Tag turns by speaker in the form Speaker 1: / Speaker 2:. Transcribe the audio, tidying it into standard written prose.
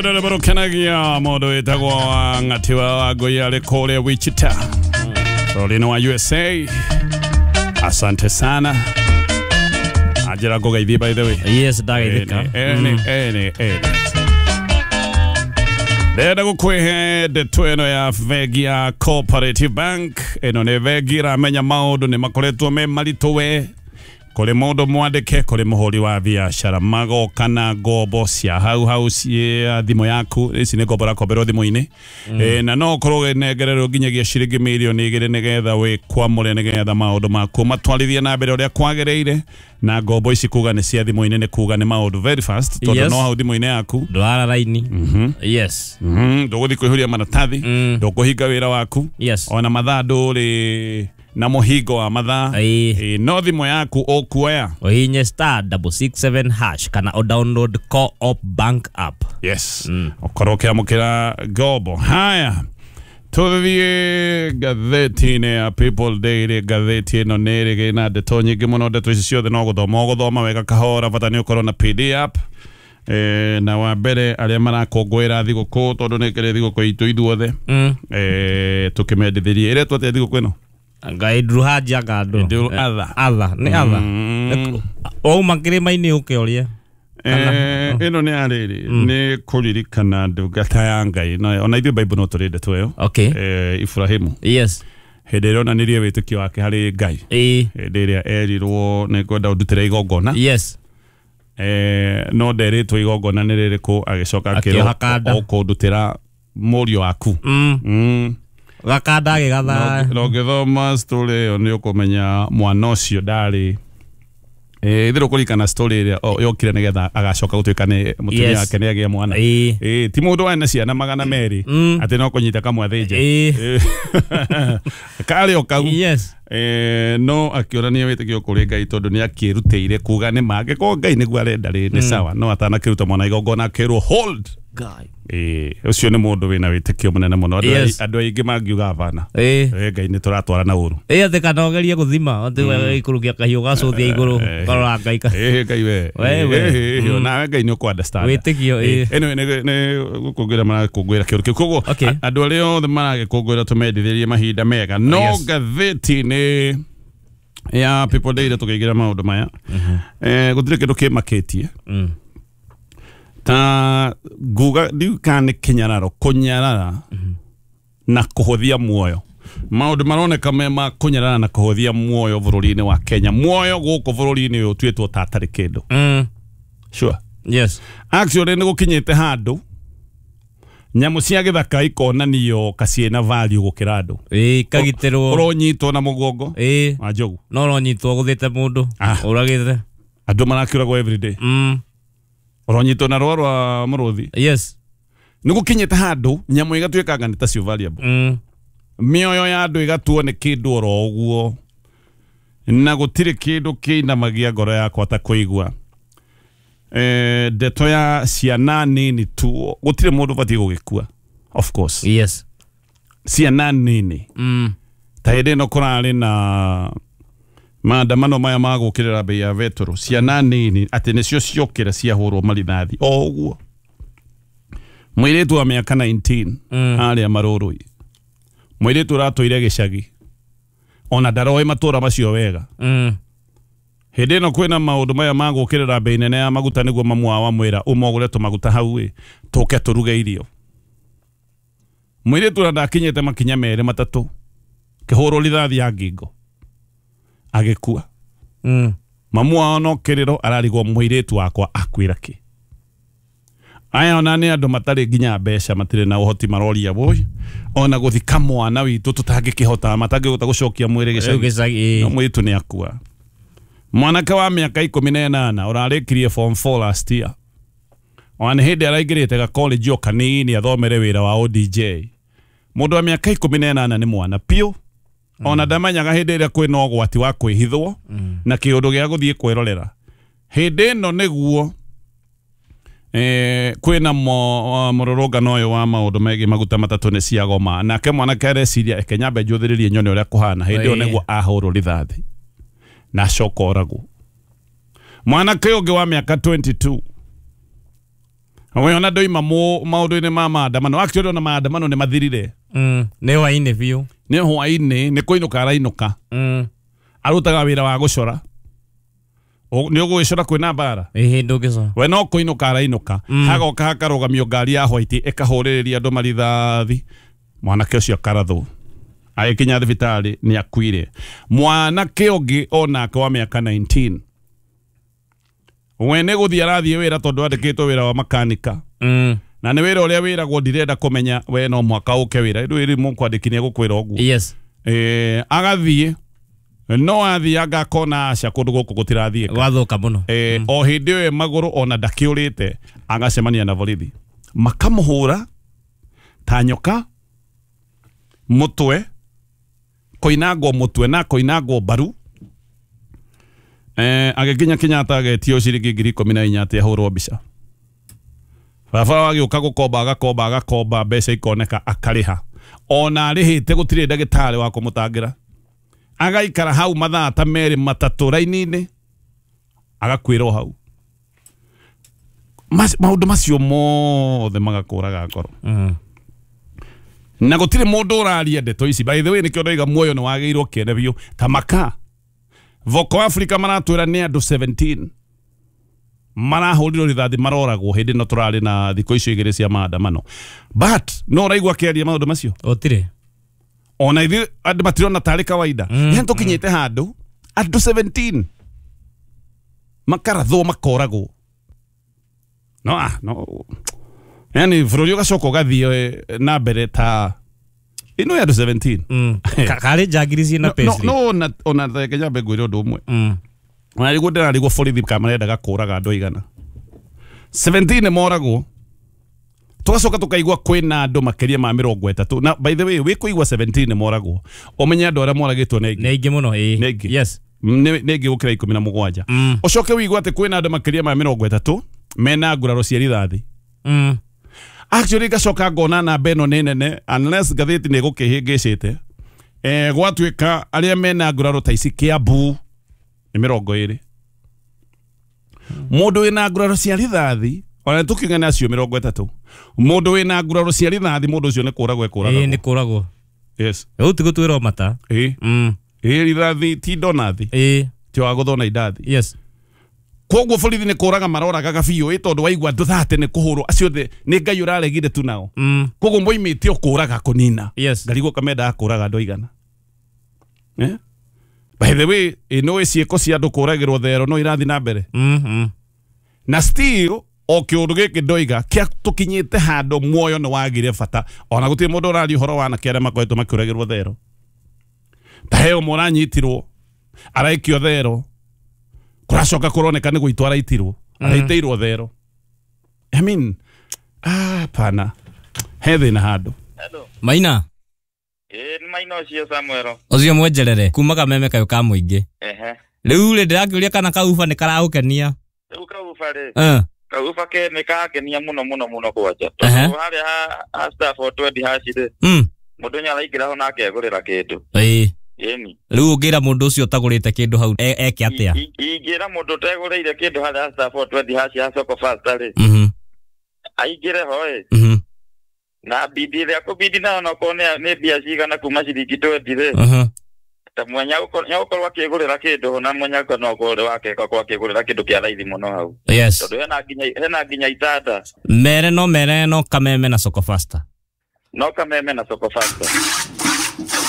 Speaker 1: Rwĩmbo rũkenagia mũndũ wĩtagwo Ng'ati wa Wangũi arĩ kũrĩa Wichita bũrũri-inĩ wa USA. Asante sana. Anjĩra ngũgeithie by the way.
Speaker 2: Yes, ndageithĩka.
Speaker 1: Ene, ene, ene. Ndĩrenda gũkwĩhe ndeto ĩno ya bengi ya Cooperative Bank. Ĩno nĩ bengi ĩramenya maũndũ nĩ makoretwo me maritũ we kũrĩ mũndũ mwandĩke kũrĩ mũhũri wa biacara magoka na ngombo cia hau hau cia thimũ yaku. Ici nĩ ngombo ũrakomberwo thimũ-inĩ. Na no ũkorwo ũgĩnengererwo nginyagia ciringi mirioni 2 nĩgetha wĩkwamũre nĩgetha maũndũ maku matwarithie na mbere ũrĩa kwagĩrĩire. Na ngombo ici kuga nĩ cia thimũ-inĩ nĩ kuga nĩ maũndũ very fast tondũ
Speaker 2: Yes.
Speaker 1: no hau thimũ-inĩ yaku
Speaker 2: Ndwara raini. Yes.
Speaker 1: Ndũgũthiĩ kwĩhũria maratathi, ndũkũhinga wĩra waku.
Speaker 2: Yes.
Speaker 1: Ona mathaa ndũrĩ na mũhingo wa mathaa.
Speaker 2: Ĩĩ.
Speaker 1: No thimũ yaku ũkuoya
Speaker 2: Ũhihinye *667# kana o download Co-op Bank app.
Speaker 1: Yes, ũkorwo ũkĩamũkĩra ngombo. Haya, tũthiĩ ngathĩti-inĩ ya People Daily. Ngathĩti ĩno nĩ ĩrĩ na ndeto nyingĩ mũno. Ndeto ici ciothe no gũthoma ũgũthoma wega kahora, bata nĩ ũkorwo na PD app. Na wa mbere arĩa marakũngũĩra thigũkũ, tondũ nĩ kĩrĩ thigũkũ itũ ithuothe, tũkĩmendithĩrie ĩretwo atĩa thigũkũ ĩno?
Speaker 2: Ngai Idul Haji anga andũ.
Speaker 1: Idul Adha.
Speaker 2: Adha, nĩ Adha. Wauma kĩrĩma-inĩ ũke ũrĩe.
Speaker 1: Ĩno nĩ arĩrĩ nĩ kũririkana ndungata ya Ngai. Na ona ithuĩ Bible no tũrĩ ndeto ĩyo. Ibrahimu.
Speaker 2: Yes.
Speaker 1: Hĩndĩ ĩrĩa onanirie wĩtĩkio wake harĩ Ngai. Hĩndĩ ĩrĩa erirwo nĩ ngwenda ũndutĩre igongona.
Speaker 2: Yes.
Speaker 1: No nderĩtwo igongona nĩ rĩrĩkũ, agĩcoka
Speaker 2: Akĩoha
Speaker 1: akĩrwo
Speaker 2: kanda.
Speaker 1: ũkũndutĩra mũriũ waku.
Speaker 2: Gakanda agĩgatha.
Speaker 1: Na ũngĩthoma story ĩyo nĩ ũkũmenya mwana ũcio ndarĩ itherũ kũririkana story ĩrĩa yokire nĩgetha agacoka gũtuĩka nĩ mũtumia wake nĩ agĩa mwana. Ti mũndũ warĩ na ciana 200 atĩ no kũnyita kamwe athĩnje. Karĩ o kau.
Speaker 2: Yes.
Speaker 1: No akĩonania wĩtĩkio kũrĩ Ngai tondũ nĩ akĩrutĩire kuga nĩ ma angĩkorwo Ngai nĩguo arenda rĩ nĩ sawa, no atanakĩruta mwana igongona akĩrwo hold.
Speaker 2: Ngai.
Speaker 1: Ũcio nĩ mũndũ wĩna wĩtĩkio mũnene mũno. Andũ
Speaker 2: Yes.
Speaker 1: andũ aingĩ mangiuga hapana. Ngai nĩ tũratwarana ũru.
Speaker 2: Atĩ kana ũgerie gũthima atĩ ikũrũkia kahiũ gacũthia igũrũ karora Ngai ka.
Speaker 1: Ngai we.
Speaker 2: We, we.
Speaker 1: Nawe Ngai nĩ ũkũ understand.
Speaker 2: Wĩtĩkio,
Speaker 1: Anyway, nĩ gũkũngũĩra marakũngũĩra kĩũndũ kĩu. Koguo
Speaker 2: Okay.
Speaker 1: andũ arĩa othe maragĩkũngũĩra tũmendithĩrie mahinda mega. No
Speaker 2: Yes.
Speaker 1: ngathĩti-inĩ ya People Daily tũkĩingĩra maũndũ maya. Gũtirĩ kĩndũ kĩmakĩtie. Ta nguga ndiũ kana nĩ kĩnyararo kũnyarara na kũhũthia muoyo. Maũndũ maroneka me ma kũnyarara na kũhũthia muoyo bũrũri-inĩ wa Kenya. Muoyo gũkũ bũrũri-inĩ ũyũ ũtuĩtwo ta atarĩ kĩndũ. Sure.
Speaker 2: Yes.
Speaker 1: Actually nĩ gũkinyĩte handũ nyamũ cia gĩthaka ikonanio kaciĩna value gũkĩra andũ.
Speaker 2: Kagitĩrwo.
Speaker 1: Ũronyitwo na mũgongo wa njogu.
Speaker 2: No ũronyitwo gũthĩte mũndũ.
Speaker 1: Ah.
Speaker 2: Ũragĩte.
Speaker 1: Andũ marakĩũragwo everyday. Ũronyitwo na rũa rwa mũrũthi.
Speaker 2: Yes.
Speaker 1: Nĩ gũkinyĩte handũ nyamũ igatuĩkanga nĩ tacio valuable. Mĩoyo ya andũ ĩgatuo nĩ kĩndũ oro ũguo. Na gũtirĩ kĩndũ kĩinamagia ngoro yakwa ta kũigua ndeto ya ciana nini tu. Gũtirĩ mũndũ ũbatiĩ gũgĩkua, of course.
Speaker 2: Yes.
Speaker 1: Ciana nini. Ta hĩndĩ ĩno kũrarĩ na maandamano maya ma gũkĩrĩra bei ya betũrũ, ciana nini atĩ nĩcio ciokĩra ciahũrwo marithathi o ũguo. Mũirĩtu wa mĩaka 19 arĩa marũrũi, mũirĩtu ũratũire gĩcagi ona ndaroĩ matũra macio wega. Hĩndĩ ĩno kwĩna maũndũ maya ma gũkĩrĩra bei nene ya maguta, nĩguo mamu wao amwĩra ũmogũre tũmaguta hau ĩ tũke tũruge irio. Mũirĩtu ũrĩa ndakinyĩte makinya merĩ matatũ kĩhũrwo rithathi ya ngingo agĩkua. Mamu wao no kĩrĩro ararigwo mũirĩtu wakwa akuĩra kĩ. Aya ona nĩ andũ matarĩ nginya mbeca, matirĩ na ũhoti, maroria woi ona gũthika mwana witũ tũtangĩkĩhota, matangĩhota gũcokia mwĩrĩ
Speaker 2: Rĩu
Speaker 1: gĩcagi.
Speaker 2: gĩcagi.
Speaker 1: No mũirĩtu nĩ akua. Mwanake wa mĩaka 18 ũrarĩkirie form 4 last year, ona nĩ hĩndĩ araingĩrĩte ga college o kanini athomere wĩra wa ODJ. Mũndũ wa mĩaka 18 nĩ mwana piũ. Ona ndamenyaga hĩndĩ ĩrĩa kwĩna ũgwati wa kwĩhithwo na kĩũndũ gĩa gũthiĩ kwĩrorera. Hĩndĩ ĩno nĩguo kwĩna mũrũrũngano ũyũ wa maũndũ megiĩ maguta matatũ nĩ ciagoma. Nake mwanake areciria eke nyambe njũthĩrĩrie nyone ũrĩa kũhana. Hĩndĩ ĩyo nĩguo ahũrwo rithathi na acoka oragwo. Mwanake ũngĩ wa mĩaka 22 We ona ndoima maũndũ-inĩ ma maandamano. Actually ona maandamano nĩ mathirire.
Speaker 2: Nĩ hwainĩ biũ.
Speaker 1: Nĩ hwainĩ, nĩ kũinũka arainũka. Arutaga wĩra wa gũcora. Nĩ ũgũgĩcora kwĩna mbara?
Speaker 2: Ĩhĩ ndũngĩcora.
Speaker 1: We no kũinũka arainũka. Hagoka hakarũgamio ngari ya white ĩkahũrĩrĩria andũ marithathi. Mwanake ũcio akarathwo. Agĩkinya thibitarĩ nĩ akuire. Mwanake ũngĩ onake wa mĩaka 19. We nĩ gũthiĩ arathiĩ wĩra tondũ andĩkĩtwo wĩra wa makanika. Na nĩ wĩra ũrĩa wĩragwo ndirenda kũmenya we no mũhaka ũke wĩra. Rĩu ĩrĩ mũkwandĩki nĩ egũkwĩra ũguo.
Speaker 2: Yes.
Speaker 1: Agathiĩ no athiĩ agakona aca kũndũ gũkũ gũtirathiĩka.
Speaker 2: Gwathũka mũno.
Speaker 1: O hĩndĩ ĩyo magũrũ ona ndakĩũrĩte agacemania na borithi. Makamũhũra ta nyoka mũtwe, koinangwo mũtwe na koinangwo mbaru. Agĩkinya Kenyatta agetio ciringi 14,000 atĩ ahũrwo mbica. Baba agĩũka gũkomba agakomba agakomba mbeca ikoneka akarĩha. Ona arĩhĩte gũtirĩ ndagĩtarĩ wa kũmũtangĩra. Agaikara hau mathaa ta merĩ matatũ raini-inĩ agakuĩrwo hau. Maũndũ macio mothe magakũraga ngoro. Na gũtirĩ mũndũ ũraria ndeto ici. By the way nĩkĩo ndoiga muoyo nĩ wagĩrĩirwo kĩene biũ. Ta maka Voco Africa maratwĩra nĩ andũ 17 marahũrirwo rithathi maroragwo hĩndĩ ĩno tũrarĩ na thikũ icio igĩrĩ cia maandamano. But no ũraigua akĩaria maũndũ macio?
Speaker 2: Gũtirĩ.
Speaker 1: Ona ithuĩ andũ matirona tarĩ kawaida. Yaani tũkinyĩte handũ andũ 17 makarathwo makoragwo. No no. Yaani bũrũri ũgacoka ũgathiĩ na mbere ta ĩno ya andũ 17.
Speaker 2: Karĩ njangiri ciĩna payslip.
Speaker 1: No ona reke nyambe ngwĩre ũndũ ũmwe. Ona rĩguo ndĩrarigwo borithi kana marendaga kũraga andũ aigana. 17 nĩ moragwo. Tũgacoka tũkaigua kwĩna andũ makĩria ma 30. Na by the way wĩ kũigua 17 nĩ moragwo. Ũmenye andũ arĩa moragĩtwo nĩ aingĩ.
Speaker 2: Nĩ aingĩ mũno ĩĩ.
Speaker 1: Nĩ aingĩ.
Speaker 2: Yes.
Speaker 1: Nĩ aingĩ gũkĩra 17. Ũcoke ũigue atĩ kwĩna andũ makĩria ma 30 mena nguraro cia rithathi. Actually ngacoka ngona namba ĩno nĩ nene unless ngathĩti nĩ ĩgũkĩhĩngĩcĩte. Gwatuĩka arĩa mena nguraro ta ici Kiambu nĩ 20. Mũndũ wĩna nguraro cia rithathi ona tũkiugane acio 30. Mũndũ wĩna nguraro cia rithathi mũndũ ũcio nĩ kũragwo ekũragwo.
Speaker 2: Ĩĩ nĩ kũragwo.
Speaker 1: Yes.
Speaker 2: Rĩu ti gũtuĩrwo mata.
Speaker 1: Ĩĩ. Ĩĩ rithathi ti ndonathi.
Speaker 2: Ĩĩ.
Speaker 1: Ti wa gũthona indathi.
Speaker 2: Yes.
Speaker 1: Koguo borithi nĩ kũraga maroragaga biũ ĩ tondũ waigua andũ thate nĩ kũhũrwo acio othe nĩ Ngai ũraregire tu nao. Koguo moimĩte o kũraga kũnina.
Speaker 2: Yes.
Speaker 1: Ngarigwo kamendaga kũraga andũ aigana. By the way ĩno ĩ ciĩko cia andũ kũragĩrwo thero no irathiĩ na mbere. Na still o kĩũndũ gĩkĩ ndoiga kĩa tũkinyĩte handũ muoyo nĩ wagire bata ona gũtirĩ mũndũ ũraria ũhoro wa anake arĩa makoretwo makĩũragĩrwo thero. Ta he ũmwe ũranyitirwo araikio thero kũracoka kũroneka nĩ gũitwo araitirwo araitĩirwo thero. I mean pana he thĩna handũ.
Speaker 3: Hello.
Speaker 2: Maina.
Speaker 3: Ĩĩ nĩ Maina ũcio Samuel.
Speaker 2: Ũcio mwenjerere kuma kameme kayũ ka mũingĩ.
Speaker 3: Ehe.
Speaker 2: Rĩu rĩ ndĩrakĩũria kana kauba nĩ karagũkenia.
Speaker 3: Rĩu kauba rĩ. Kauba ke nĩ kangenia mũno mũno mũno kwanja. Tondũ harĩa ha star 420 hash rĩ. Mũndũ nĩ araingĩra ho na akegũrĩra kĩndũ.
Speaker 2: Ĩĩ.
Speaker 3: Ĩni.
Speaker 2: Rĩu ũngĩra mũndũ ũcio ũtagũrĩte kĩndũ hau eke atĩa?
Speaker 3: Ingĩra mũndũ ũtegũrĩire kĩndũ harĩa star 420 hash ya Soko Fasta rĩ. Aingĩre ho ĩ. Na bidi ĩrĩa kũbidi nayo no korwo nĩ mbia cigana kuma ciringi 20 rĩ. Ta mwenya gũkorwo akĩgũrĩra kĩndũ na mwenya no korwo wake akorwo akĩgũrĩra kĩndũ kĩa raithi mũno hau.
Speaker 2: Yes.
Speaker 3: Tondũ hena nginya itanda.
Speaker 2: Mere no kameme na Soko Fasta.
Speaker 3: No kameme na Soko Fasta.